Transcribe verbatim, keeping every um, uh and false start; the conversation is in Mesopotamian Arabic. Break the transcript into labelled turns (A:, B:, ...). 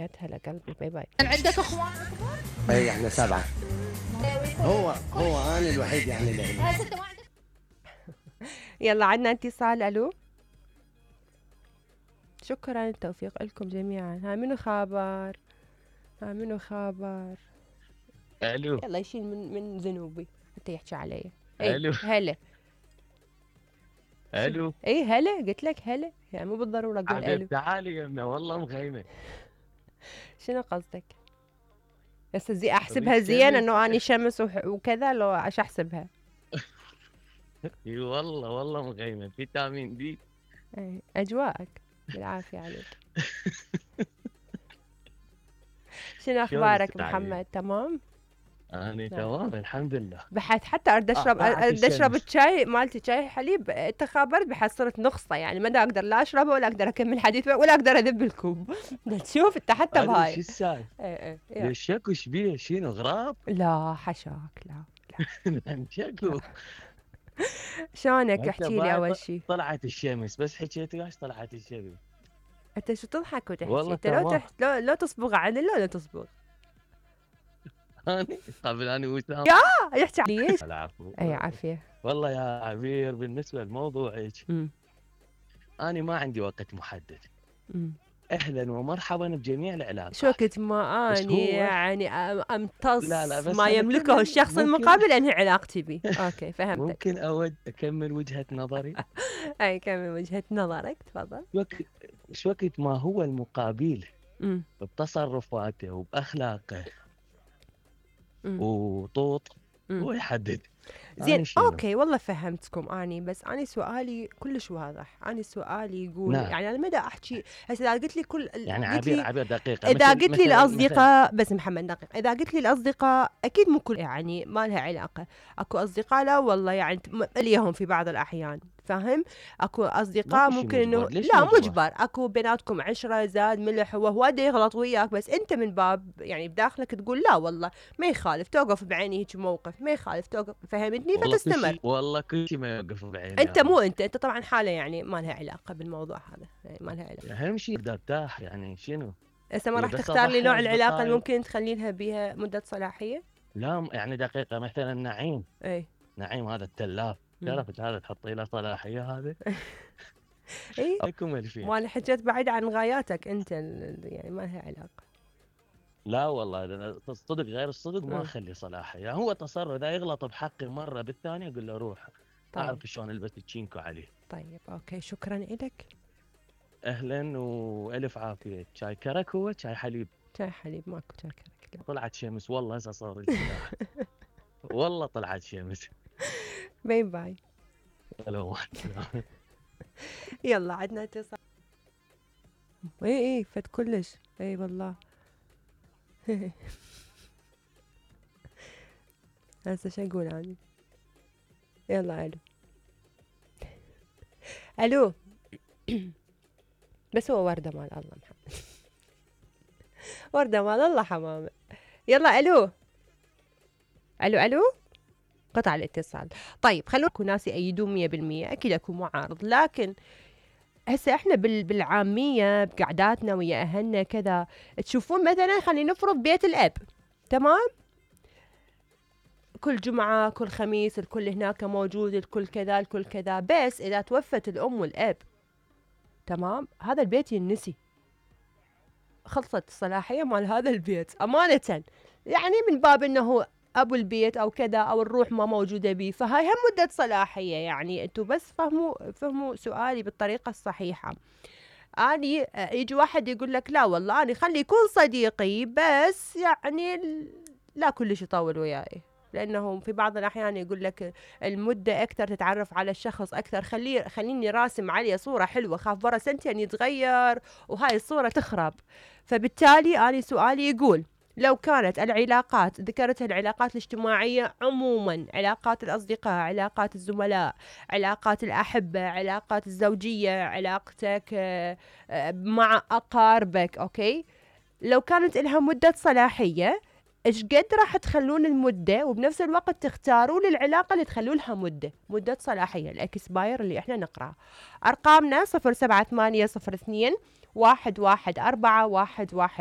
A: ذكريات. هلا قلبي، باي باي.
B: عندك اخوان اكبر؟
C: اي احنا سبعة. هو هو انا الوحيد يعني اللي
B: ستة ما عندك؟
A: يلا عندنا اتصال. الو، شكرا، التوفيق لكم جميعا. ها منو خابر؟ ها منو خابر؟
D: الو،
A: يلا يشيل من من ذنوبي حتى يحكي علي. اي
D: الو
A: هلا.
D: الو،
A: اي هلا، قلت لك هلا، يعني مو بالضروره اقول الو.
D: حبيب تعالي يمنا والله مخيمه.
A: شنو قصدك؟ هسه زي احسبها زين انه اني شمس وكذا، لو ايش احسبها؟
D: اي والله والله مخيمه، فيتامين دي.
A: اي اجواءك بالعافيه عليك. شنو اخبارك محمد؟ تمام؟
D: أنا تمام الحمد لله.
A: بحث حتى ارد اشرب ارد اشرب الشاي مالتي، شاي حليب. انت خابرت بحس صرت نقصه، يعني ما اقدر لا اشربه ولا اقدر اكمل حديث ولا اقدر اذب الكوب. تشوف انت حتى بهاي
D: شو السالفه؟
A: ايه ايه
D: ليش شكو شبيه؟ شنو غراب؟
A: لا حشاك، لا
D: لا شكو.
A: شلونك؟ احكي لي اول شيء.
D: طلعت الشمس، بس حكيت وياش طلعت الشمس.
A: انت شو تضحك وتحكي؟
D: والله
A: انت لو تح... لو لو تصبغ عن لو لا تصبغ.
D: اني قبل اني وسام
A: يا يحكي ليش؟
D: العفو.
A: اي عافيه.
D: والله يا عبير بالنسبه لموضوعك، انا ما عندي وقت محدد. امم اهلا ومرحبا بجميع العلاقات.
A: شو وقت ما اني يعني امتص
D: لا لا بس
A: ما يملكه الشخص المقابل انهي علاقتي به. اوكي فهمتك.
D: ممكن اود اكمل وجهه نظري؟
A: اي كمل وجهه نظرك تفضل.
D: وقت شو وقت ما هو المقابل بتصرفاته وباخلاقه وطوط هو يحدد.
A: زين اوكي والله فهمتكم اني، بس اني سؤالي كلش واضح. اني سؤالي يقول نعم. يعني انا ما دا احكي هسه. اذا قلت لي كل
D: يعني عبير عبير دقيقه،
A: اذا قلت لي الاصدقاء بس محمد دقيقه، اذا قلت لي الاصدقاء اكيد مو كل يعني ما لها علاقه. اكو اصدقاء لا والله يعني اليهم في بعض الاحيان، فاهم؟ اكو اصدقاء ممكن انه لا مجبر، اكو بيناتكم عشره زاد ملح، هو هو يغلط وياك، بس انت من باب يعني بداخلك تقول لا والله ما يخالف، توقف بعيني هيك موقف ما يخالف، توقف فهمتني فتستمر.
D: والله كل شيء ما يوقف بعيني.
A: انت مو انت انت طبعا حاله يعني ما لها علاقه بالموضوع هذا، يعني ما لها علاقه.
D: اهم شيء بدي ارتاح يعني شنو؟
A: هسه ما راح تختار لي نوع العلاقه اللي ممكن تخلي لها بها مده صلاحيه؟
D: لا يعني دقيقه مثلا نعيم.
A: اي
D: نعيم هذا التلاف، تعرفت هذا تحطي له صلاحيه هذا؟
A: اي
D: عليكم الفين.
A: ما انا حكيت بعيد عن غاياتك انت، يعني ما لها علاقه.
D: لا والله الصدق غير الصدق ما اخلي صلاحيه. هو تصرف اذا يغلط بحقي مره بالثانيه اقول له روح. طيب. اعرف شلون البس تشينكو عليه.
A: طيب اوكي شكرا لك.
D: اهلا والف عافيه. شاي كرك هو شاي حليب؟
A: شاي حليب ماكو شاي كرك.
D: طلعت شمس والله هسه صار والله طلعت شمس.
A: باي باي.
D: الو
A: يلا عندنا اتصال. اي اي فت كلش. اي والله. هسه شو اقول اني؟ يلا الو الو. بس هو ورده مال الله محمد. ورده مال الله حمامه. يلا الو الو الو. قطع الاتصال. طيب خلونا اكو ناس يأيدون مية بالمية، اكيد اكو معارض، لكن هسه احنا بالعاميه بقعداتنا ويا اهلنا كذا تشوفون مثلا خلينا نفرض بيت الاب، تمام؟ كل جمعه كل خميس الكل هناك موجود، الكل كذا الكل كذا، بس اذا توفت الام والاب تمام هذا البيت ينسي، خلصت الصلاحيه مال هذا البيت امانه، يعني من باب انه ابو البيت او كذا او الروح ما موجوده بيه، فهاي هم مده صلاحيه. يعني انتم بس فهموا فهموا سؤالي بالطريقه الصحيحه. اني يجي واحد يقول لك لا والله اني خلي يكون صديقي بس يعني لا كلش يطول وياي، لانه في بعض الاحيان يقول لك المده اكثر تتعرف على الشخص اكثر، خليه خليني راسم عليه صوره حلوه، خاف برا سنتين يتغير وهاي الصوره تخرب. فبالتالي اني سؤالي يقول لو كانت العلاقات، ذكرت العلاقات الاجتماعية عموما، علاقات الأصدقاء، علاقات الزملاء، علاقات الأحبة، علاقات الزوجية، علاقتك مع أقاربك، أوكي؟ لو كانت لها مدة صلاحية إيش قد راح تخلون المدة وبنفس الوقت تختاروا للعلاقة اللي تخلوا لها مدة مدة صلاحية، الإكسباير اللي إحنا نقرأ. أرقامنا صفر سبعة ثمانية صفر اثنين واحد واحد أربعة واحد واحد